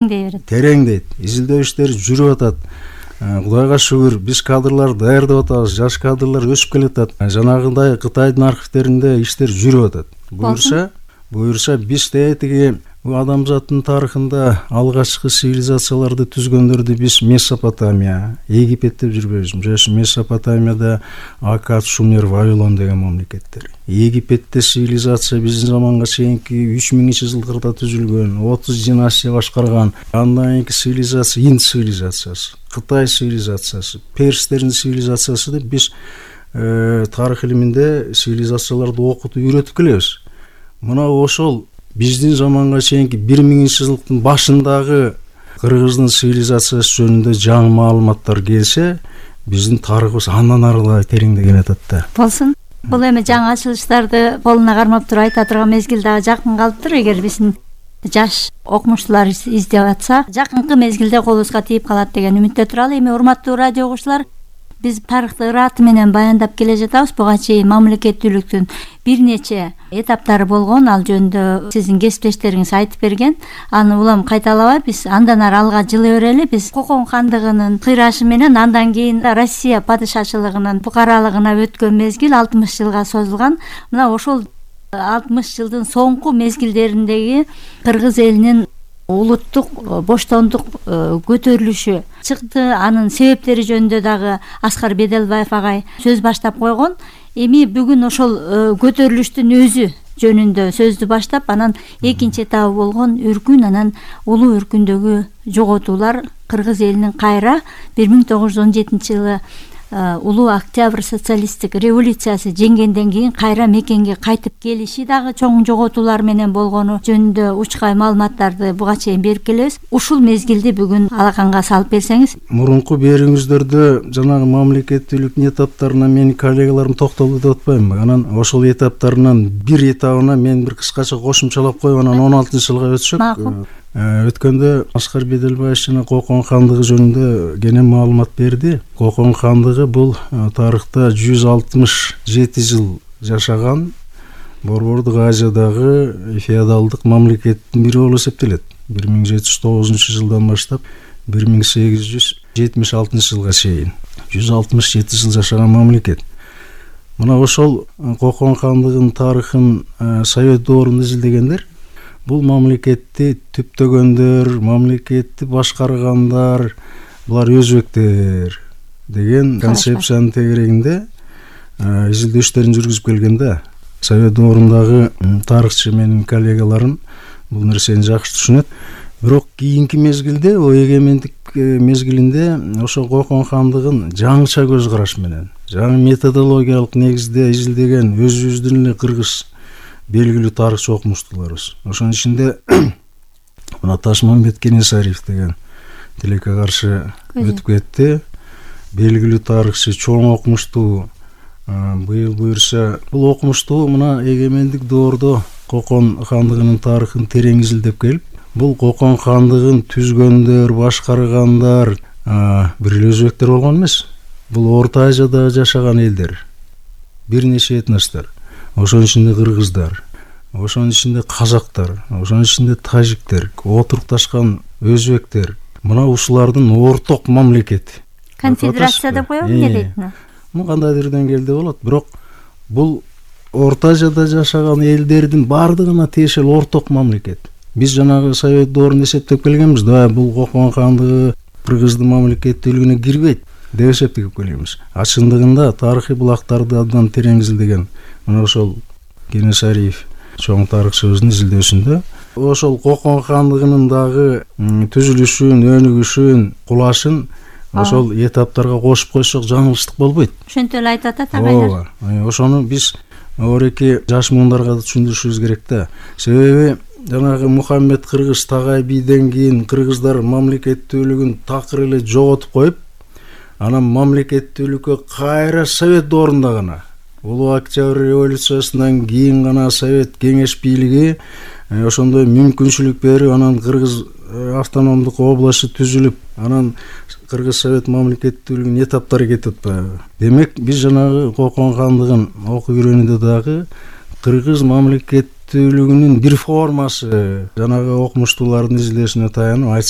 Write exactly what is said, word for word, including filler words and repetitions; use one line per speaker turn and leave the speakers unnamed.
берет.
Тереңдейт. Изилдөө иштери жүрүп атат. Кудайга шүгүр, биз кадрлар даярдап атабыз, жаш кадрлар өсүп келатат. Жанагындай Кытайдын архивтеринде иштер жүрүп атат. Буюрса, буюрса биз тетиги адамзаттын тарыхында алгачкы цивилизацияларды түзгөндөрдү биз Месопотамия, Египет деп жүрбөйбүз. Жаш Месопотамияда Аккад, Шумер, Вавилон деген мамлекеттер. Египетте цивилизация биздин заманга чейинки үч миңинчи жылдарда түзүлгөн, отуз династия башкарган. Андан кийинки цивилизация Инд цивилизациясы, Кытай цивилизациясы, перстердин цивилизациясы деп биз тарых илиминде цивилизацияларды окутуп үйрөтүп келебиз. Мына ошол биздин заманга чейинки бир миңинчи жылдын башындагы кыргыздын цивилизациясы жөнүндө жаңы маалыматтар келсе, биздин тарыхыбыз андан арыгы тереңдеген атат да.
Болсун. Бул эми жаңы ачылыштарды колуна кармап туруп айта турган мезгил дагы жакын калыптыр. Эгер биздин жаш окумуштуулар издеп атса, жакынкы мезгилде колубузга тийип калат деген үмүттө туралы. Эми урматтуу радио угуучулар, биз тарыхты ыраты менен баяндап келе жатабыз. Буга чейин мамлекеттүүлүктүн бир нече этаптары болгон, ал жөнүндө сиздин кесиптештериңиз айтып берген. Аны улам кайталабай биз андан ары алга жылы берели. Биз Кокон хандыгынын кыйрашы менен андан кийин Россия падышачылыгынын фукаралыгына өткөн мезгил алтымыш жылга созулган. Мына ошол алтымыш жылдын соңку мезгилдериндеги кыргыз элинин улуттук боштондук көтөрүлүшү чыкты. Анын себептери жөнүндө дагы Аскар Беделбаев агай сөз баштап койгон. Эми бүгүн ошол көтөрүлүштүн өзү жөнүндө сөздү баштап, анан экинчи этабы болгон өркүн, анан улуу өркүндөгү жоготуулар кыргыз элинин кайра бир миң тогуз жүз он жетинчи жылы улуу октябрь социалисттик революциясы жеңгенден кийин кайра мекенге кайтып келиши дагы чоң жоготуулар менен болгону жөнүндө учкай маалыматтарды буга чейин берип келебиз. Ушул мезгилди бүгүн алаканга салып берсеңиз.
Мурунку берүүңүздөрдө жанагы мамлекеттүүлүктүн этаптарына менин коллегаларым токтолду деп атпаймынбы? Анан ошол этаптарынан бир этабына мен бир кыскача кошумчалап коюп, анан он алтынчы жылга өтсөк.
Макул.
Өткөндө Аскар Беделбаев жана Кокон хандыгы жөнүндө кенен маалымат берди. Кокон хандыгы бул тарыхта жүз алтымыш жети жыл жашаган Борбордук Азиядагы феодалдык мамлекеттин бири болуп эсептелет. бир миң жети жүз тогузунчу жылдан баштап бир миң сегиз жүз жетимиш алтынчы жылга чейин жүз алтымыш жети жыл жашаган мамлекет. Мына ошол Кокон хандыгынын тарыхын Совет доорунда изилдегендер бул мамлекетти түптөгөндөр, мамлекетти башкаргандар, булар өзбектер деген концепциянын тегерегинде изилдөө иштерин жүргүзүп келгенде, Совет доорундагы тарыхчы менин коллегаларым бул нерсени жакшы түшүнөт. Бирок кийинки мезгилде, о эгемендик мезгилинде ошо Кокон хандыгын жаңыча көз караш менен, жаңы методологиялык негизде изилдеген өзүбүздүн эле кыргыз белгилүү тарыхчы окумуштууларыбыз. Ошонун ичинде мына Ташмамбет Кенесариев деген тилекке каршы өтүп кетти. Белгилүү тарыхчы, чоң окумуштуу. Быйыл буюрса, бул окумуштуу мына эгемендик доордо Кокон хандыгынын тарыхын терең изилдеп келип, бул Кокон хандыгын түзгөндөр, башкаргандар бир эле өзбектер болгон эмес. Бул Орто Азияда жашаган элдер. Бир нече этностор. Ошонун ичинде кыргыздар, ошонун ичинде казактар, ошонун ичинде тажиктер, отурукташкан өзбектер. Мына ушулардын орток мамлекети.
Конфедерация деп коебу, эмне дейт?
Муну кандайдыр деңгээлде болот, бирок бул Орто Азияда жашаган элдердин бардыгына тиешелүү орток мамлекет. Биз жанагы Совет доорунда эсептеп келгенбиз да, бул Кокон хандыгы кыргыздын мамлекеттүүлүгүнө кирбейт деп эсептеп келебиз. А чындыгында тарыхый булактарды абдан терең изилдеген мына ошол Кенесариев чоң тарыхчыбыздын изилдөөсүндө ошол Кокон хандыгынын дагы түзүлүшүн, өнүгүшүн, кулашын ошол этаптарга кошуп койсок жаңылыштык болбойт.
Ошентип эле айтып атат агайлар.
Ооба. Ошону биз ореки жаш муундарга да түшүндүрүшүбүз керек да. Себеби жанагы Мухаммед Кыргыз Тагай бийден кийин кыргыздар мамлекеттүүлүгүн такыр эле жоготуп коюп, анан мамлекеттүүлүккө кайра Совет доорунда гана, улуу октябрь революциясынан кийин гана Совет кеңеш бийлиги ошондой мүмкүнчүлүк берип, анан кыргыз автономдук областы түзүлүп, анан кыргыз Совет мамлекеттүүлүгүнүн этаптары кетип атпайбы. Демек биз жанагы Кокон хандыгын окуп үйрөнүүдө дагы кыргыз мамлекет керектүүлүгүнүн бир формасы жанагы окумуштуулардын изилешине таянып айтышат.